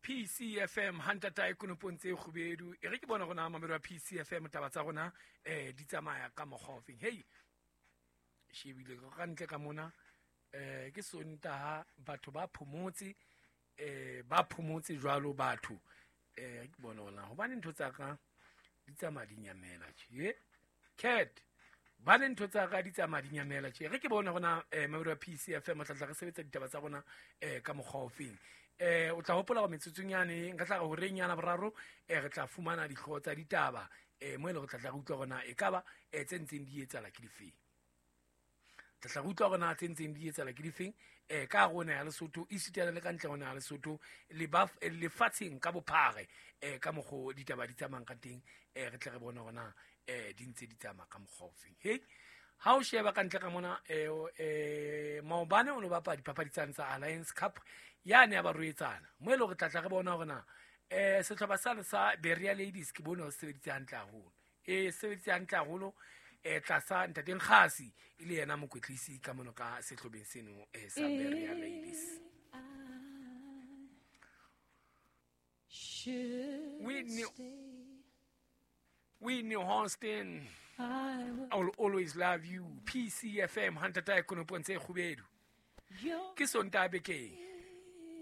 PCFM hantata e konopong tse kgubedu. E re ke bona rona mamelo wa PCFM, taba tsa rona di tsamaya ka mokgwa ofeng. Hei, shebile ka ntle ka mona, ke Sontaha, batho ba phomotse, ba phomotse jwalo batho. Ke bona hona hobane ntho tsa ka di tsamaya di nyamela tje. Cat ba le ntho tsa ka di tsamaya di nyamela tje. Re ke bona rona mamelo wa PCFM, tla tla re sebetsa ditaba tsa rona ka mokgwa ofeng. O tla hopola gore metsotsong yane re tla re horeng yana boraro, re tla fumana dihlooho tsa ditaba, mo e leng re tla tla re utlwa rona e kaba tse ntseng di etsahala ke difeng. Tla tla re utlwa rona tse ntseng di etsahala ke difeng, ka rona ya Lesotho, esitana le ka ntle rona ya Lesotho, lefatsheng ka bophare, ka mokgo ditaba di tsamayang ka teng, re tle re bone rona di ntse di tsamaya ka mokgwa ofeng. Hei, ha o sheba ka ntle ka mona, maobane o no bapala dipapadi tsane tsa Alliance Cup yane ya barwetsana, mo e leng hore tla tla re bona hore na sehlopha sane sa Berea Ladies ke bone hore se sebeditse hantle haholo. Sebeditse hantle haholo, tlasa ntate Nkgasi e le yena mokwetlisi ka mono ka sehlobeng seno sa Berea Ladies. Whitney Houston, I will always love you. PCFM hantata e konopong tse kgubedu. Ke Sontaha bekeng.